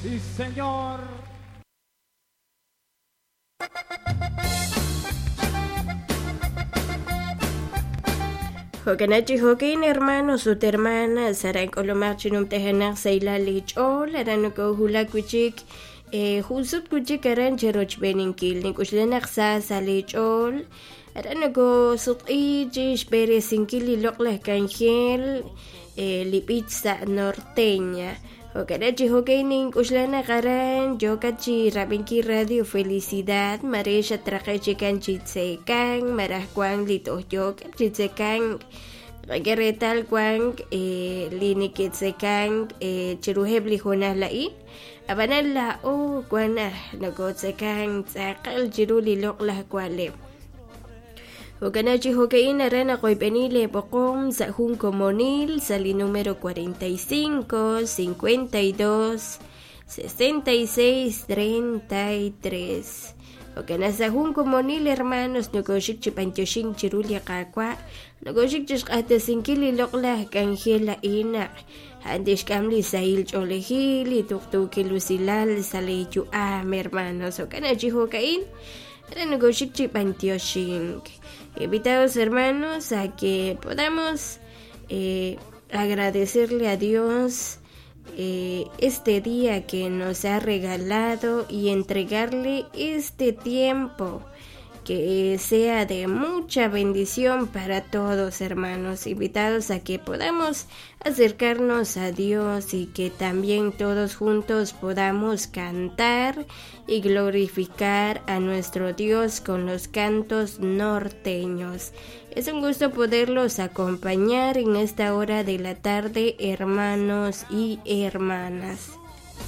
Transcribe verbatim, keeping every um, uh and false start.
Sí, señor. Jo'kan chi jo'kin hermanos ut hermanas aran k'ulumaq chi numtajenaq sa' ilal li ch'ool aran nokojulak wichik eh, jun sut wichik aran cherochb'eninkil nik'uxlanaq sa sa' li ch'ool aran nokosutq'i chi xb'eresinkil li loq'laj k'anjel eh, li b'ich sa' norteña. Jo'kan chi jo'kin nink'uxlanaq aran yokat chi rab'inkil Radio Felicidad mare xatraqe chikan chi tzekan maraj wan li toj yookeb' chi tzekan qak'e reetal wan eh, li nikitzekan eh, chiruheb' li junaj la'in ab'anan la'o wan aj nokotzekan tz'aqal chiru li loq'laj wa'leb'. Jo'kan chi jo'ka'in aran naqoyb'eni le b'oqom sa' jun komonil sa' li número cuarenta y cinco, cincuenta y dos, sesenta y seis, treinta y tres. Jo'kan sa' jun komonil hermanos nokoxik chi b'antioxin chiru li qaawa' nokoxik chi xq'ahtasinkil li loq'laj k'anjel a'in naq a'an tixk'am li sahil ch'oolejil li tuqtuukil usilal sa' li yu'am hermanos. Jo'kan chi jo'ka'in aran nokoxik chi b'antioxink. Invitados hermanos a que podamos eh, agradecerle a Dios eh, este día que nos ha regalado y entregarle este tiempo que sea de mucha bendición para todos hermanos. Invitados a que podamos acercarnos a Dios y que también todos juntos podamos cantar y glorificar a nuestro Dios con los cantos norteños. Es un gusto poderlos acompañar en esta hora de la tarde, hermanos y hermanas.